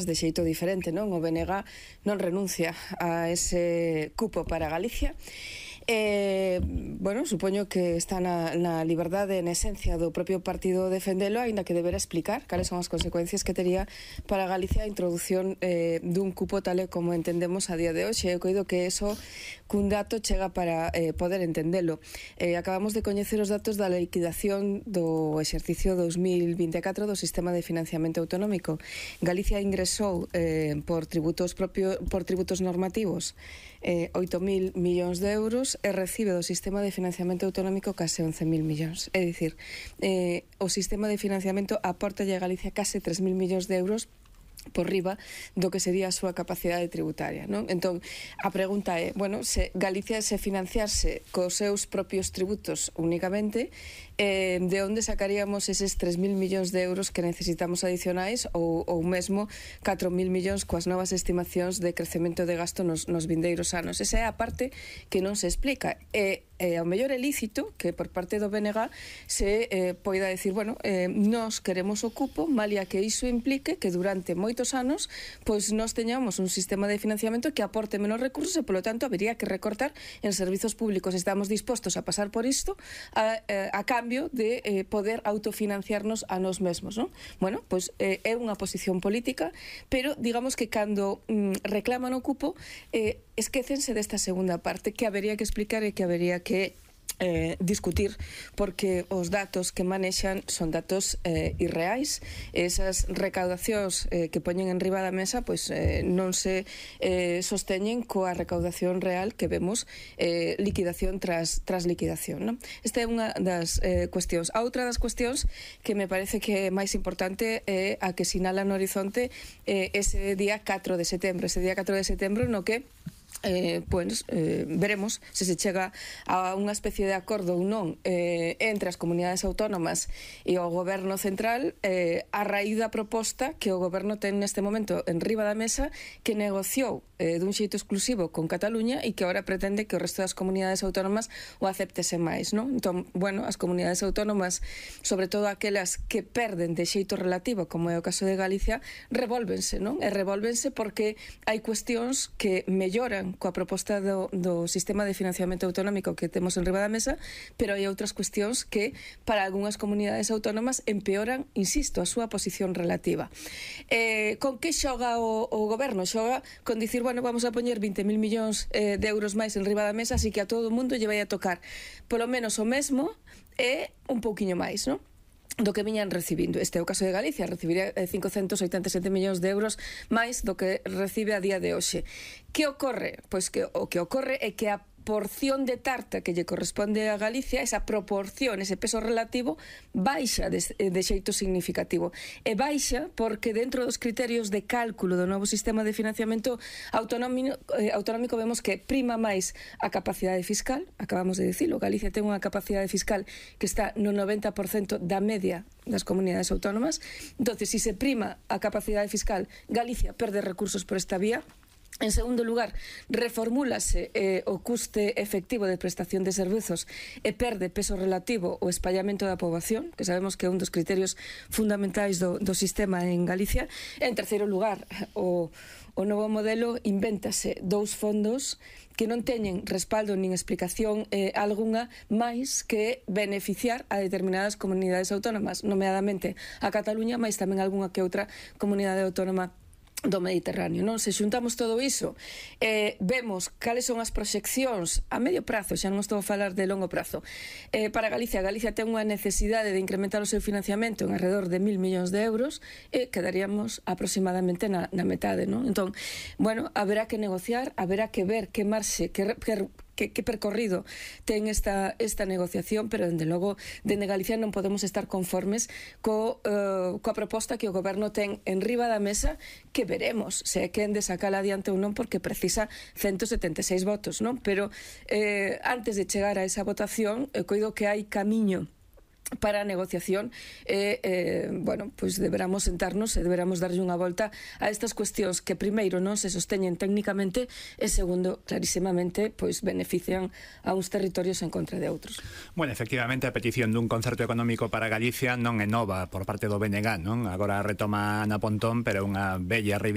de xeito diferente, non? O BNG non renuncia a ese cupo para Galicia. Bueno, supoño que está na liberdade en esencia do propio partido defendelo, aínda que deberá explicar cales son as consecuencias que tería para Galicia a introducción dun cupo tal e como entendemos a día de hoxe. Eu coido que eso cun dato chega para poder entendelo. Acabamos de coñecer os datos da liquidación do exercicio 2024 do sistema de financiamento autonómico. Galicia ingresou por tributos normativos 8.000 millóns de euros e recibe do sistema de financiamento autonómico case 11.000 millóns. É dicir, o sistema de financiamento aporta a Galicia case 3.000 millóns de euros por riba do que sería a súa capacidade tributaria, non? Entón, a pregunta é, bueno, se Galicia se financiarse cos seus propios tributos únicamente, de onde sacaríamos eses 3.000 millóns de euros que necesitamos adicionais ou mesmo 4.000 millóns coas novas estimacións de crecemento de gasto nos vindeiros anos? Esa é a parte que non se explica. Ao mellor é lícito que por parte do BNG se poida decir, bueno, nós queremos o cupo, malia que iso implique que durante moitos anos pois nós teñamos un sistema de financiamento que aporte menos recursos e, polo tanto, habería que recortar en servizos públicos. Estamos dispostos a pasar por isto a cambio de poder autofinanciarnos a nós mesmos, non? Bueno, pois é unha posición política, pero digamos que cando reclaman o cupo esquécense desta segunda parte que habería que explicar e que habería que discutir, porque os datos que manexan son datos irreais. Esas recaudacións que poñen en riba da mesa pois non se sosteñen coa recaudación real que vemos liquidación tras liquidación, non? Esta é unha das cuestións. A outra das cuestións que me parece que é máis importante é a que sinala no horizonte ese día 4 de setembro, no que veremos se chega a unha especie de acordo ou non entre as comunidades autónomas e o goberno central a raíz da proposta que o goberno ten neste momento en riba da mesa, que negociou dun xeito exclusivo con Cataluña e que agora pretende que o resto das comunidades autónomas o aceptese máis, non? Entón, bueno, as comunidades autónomas, sobre todo aquelas que perden de xeito relativo, como é o caso de Galicia, revólvense, non? E revólvense porque hai cuestións que melloran coa proposta do sistema de financiamento autonómico que temos en riba da mesa, pero hai outras cuestións que para algunhas comunidades autónomas empeoran, insisto, a súa posición relativa. Con que xoga o goberno? Xoga con dicir, bueno, vamos a poñer 20.000 millóns de euros máis en riba da mesa, así que a todo o mundo lle vai a tocar polo menos o mesmo e un pouquiño máis, non? Do que viñan recibindo. Este é o caso de Galicia, recibiría 587 millóns de euros máis do que recibe a día de hoxe. Que ocorre? Pois que o que ocorre é que a porción de tarta que lle corresponde a Galicia, esa proporción, ese peso relativo, baixa de xeito significativo. E baixa porque dentro dos criterios de cálculo do novo sistema de financiamento autonómico vemos que prima máis a capacidade fiscal, acabamos de dicilo, Galicia ten unha capacidade fiscal que está no 90% da media das comunidades autónomas. Entonces, se se prima a capacidade fiscal, Galicia perde recursos por esta vía. En segundo lugar, reformúlase o custe efectivo de prestación de servizos e perde peso relativo o espallamento da poboación, que sabemos que é un dos criterios fundamentais do sistema en Galicia. En terceiro lugar, o novo modelo invéntase dous fondos que non teñen respaldo nin explicación algunha máis que beneficiar a determinadas comunidades autónomas, nomeadamente a Cataluña, máis tamén algunha que outra comunidade autónoma do Mediterráneo, non? Se xuntamos todo iso, vemos cales son as proxeccións a medio prazo, xa non estou a falar de longo prazo, para Galicia. Galicia ten unha necesidade de incrementar o seu financiamento en alrededor de 1.000 millóns de euros e quedaríamos aproximadamente na metade, non? Entón, bueno, haberá que negociar, haberá que ver que marxe, que percorrido ten esta negociación, pero, dende logo, dende Galicia non podemos estar conformes coa proposta que o goberno ten en riba da mesa, que veremos se é quen de sacala adiante ou non, porque precisa 176 votos, non? Pero antes de chegar a esa votación, coido que hai camiño para a negociación bueno, pois deberamos sentarnos e deberamos darlle unha volta a estas cuestións que primeiro non se sosteñen técnicamente e segundo, clarísimamente, pois benefician a uns territorios en contra de outros. Bueno, efectivamente a petición dun concerto económico para Galicia non é nova por parte do BNG, non? Agora retoma Ana Pontón, pero unha bella reivindicación